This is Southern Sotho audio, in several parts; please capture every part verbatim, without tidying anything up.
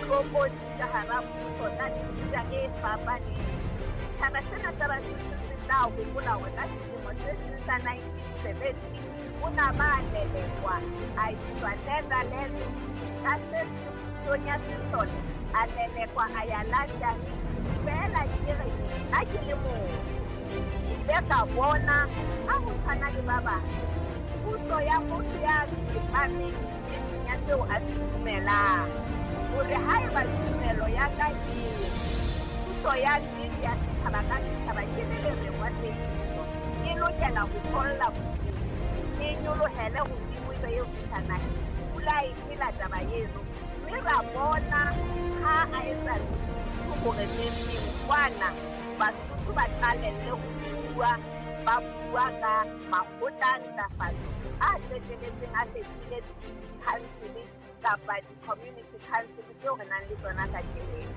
Tlokotsi ka hara puso tsa mefuta e fapaneng. Setjhaba sena sa Basotho se tla hopola hore ka selemo se seng sa nineteen seventy o na ba lelekwa a iswa Netherlands, ka se seng pusong ya sesole a lelekwa a ya London. Feela ke re nna ke le motho, ke ile ka bona ha ho tshwana le ba bang puso ya motho ya tsepameng e seng ya seo a se dumelang, hore haeba tumelo ya ka ke puso ya nnete ya setjhaba ka setjhaba ke le lereng wa tsebiso, e lokela ho tholla puso, e nyolohele hodimo e be eo fihla naheng. Pula e phela taba eno, mme ra bona ha a etsa hore neng kwana Basotho ba qalelle ho bua, ba bua ka makgotla a ntlafatso a qetelletseng a fetohile di-council kapa di-community council tseo re nang le tsona kajeno.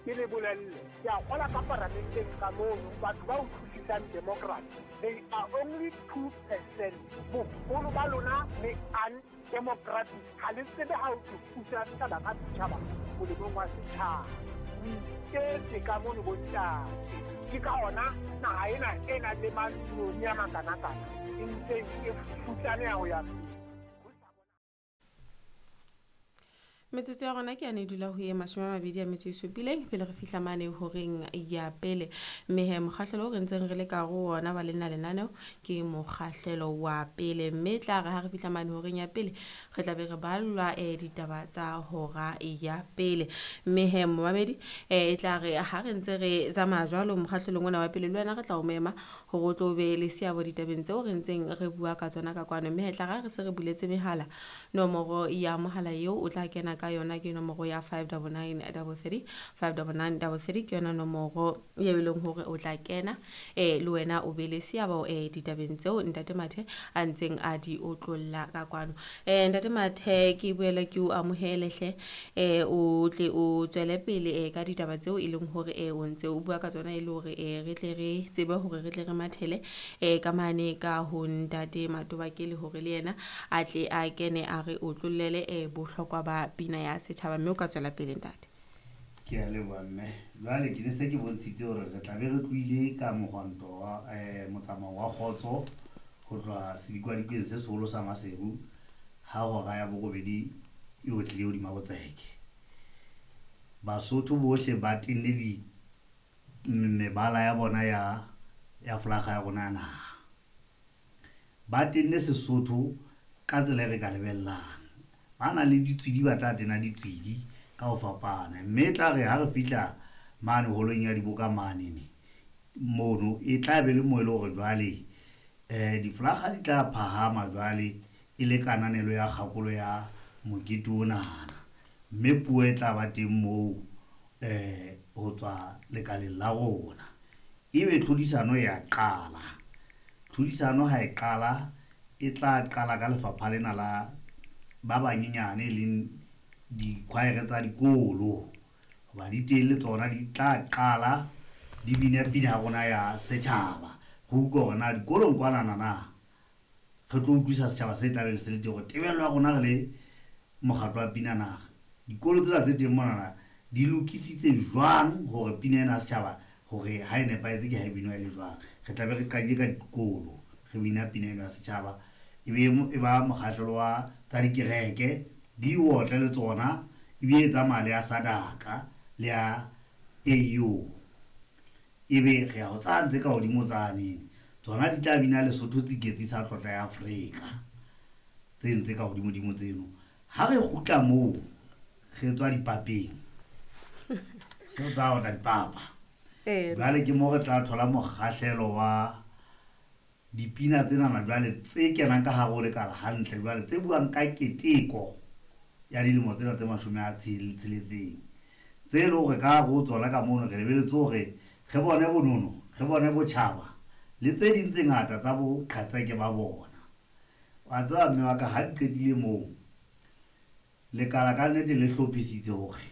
Ke le bolelle, ke a kgola ka paramenteng ka mono, batho ba utlwisisang democracy, they are only two percent. Boholo ba lona le undemocratic, ha le tsebe ha ho thusa setjhaba ka setjhaba molemong wa setjhaba. O iketse ka mono bontate. Ke ka hona naha ena e nang le mantsione a makanakana e ntseng e futsaneha ho ya pele. Metsotso ya rona ke yane e dula ho ye mashome a mabedi a metso e supileng pele re fihla mane horeng ya pele. Mme he mokgahlelo o re ntseng re le ka ho ona wa lena lenaneo ke mokgahlelo wa pele, mme tla re ha re fihla mane horeng ya pele re tla be re ballwa eh ditaba tsa hora ya pele. Mme he momamedi eh e tla re ha re ntse re tsamaya jwalo mokgahlelong ona wa pele, le wena re tla o mema hore o tlo be le seabo ditabeng tseo re ntseng re bua ka tsona ka kwano. Mme he tla re se re buletse mehala, nomoro ya mohala eo o tla kena ka yona ke nomoro ya five double nine double three, five double nine double three ke yona nomoro eo e leng hore o tla kena eh le wena o be le seabo eh ditabeng tseo Ntate Mathe a ntseng a di otlolla ka kwano. Eh Ntate Mathe, ke boela ke o amohele hle, eh o tle o tswele pele eh ka ditaba tseo e leng hore eh o ntse o bua ka tsona, e le hore eh re tle re tsebe hore re tle re mathele eh ka mane ka ho Ntate Matobakele hore le yena a tle a kene a re otlollele eh bohlokwa ba pina ya setjhaba. Mme o ka tswela pele ntate. Ke a leboha mme. Jwale ke ne se ke bontshitse hore re tla be re tlohile ka mohwanto wa eh motsamao wa kgotso ho tloha sedikwadikeng se seholo sa Maseru ha hora ya borobedi e otlile hodima botseke. Basotho bohle ba tenne di mebala ya bona ya ya flaga ya rona ya naha. Ba tenne Sesotho ka tsela e re ka lebellang. Ba na le ditswidi, ba tla tena ditswidi ka ho fapana. Mme e tla re ha re fihla mane holong ya diboka mane ne, mono e tla be le moo e le hore jwale eh diflaga di tla phahama jwale e le kananelo ya kgakolo ya mokete onana. Mme puo e tla ba teng moo eh ho tswa lekaleng la rona. Ebe tlhodisano ya qala. Tlhodisano ha e qala e tla qala ka lefapha lena la ba banyenyane e leng dikhwaere tsa dikolo, hoba di teng le tsona di tla qala di bine pina ya rona ya setjhaba. Re utlwe hore na dikolong kwanana na re tlo utlwisa setjhaba se tlabeng se le teng hore tebello ya rona re le mokgatlo wa pina naha, dikolo tsena tse teng monana di lokisitse jwang hore pina ena ya setjhaba hore ha e nepahetse ke ha e binwa e le jwang. Re tla be re qadile ka dikolo re bina pina ena ya setjhaba, e be e ba mokgahlelo wa tsa dikereke di otle le tsona, e be e tsamaya le ya Sadaka le ya A U. Ebe re ya ho tsaya ntse ka hodimo tsane, tsona di tla bina Lesotho tsiketsi sa tlotla ya Afrika, tse ntse ka hodimodimo tseno. Ha re kgutla moo re tswa dipapeng, se re tsa otla dipapa. Jwale ke moo re tla thola mokgahlelo wa dipina tsenana jwale tse kenang ka hare ho lekala hantle, jwale tse buang ka keteko ya dilemo tsena tse mashome a tsheletseng, tse e leng hore ka hare ho tsona ka mono re lebeletse hore re bone bonono, re bone botjhaba le tse ding tse ngata tsa boqhetseke ba bona. Wa tseba mme wa ka, ha di qetile moo lekala ka nnete le hlophisitse hore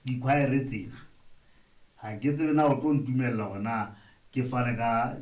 dikhwaere tsena, ha ke tsebe na o tlo ntumella hore na ke fane ka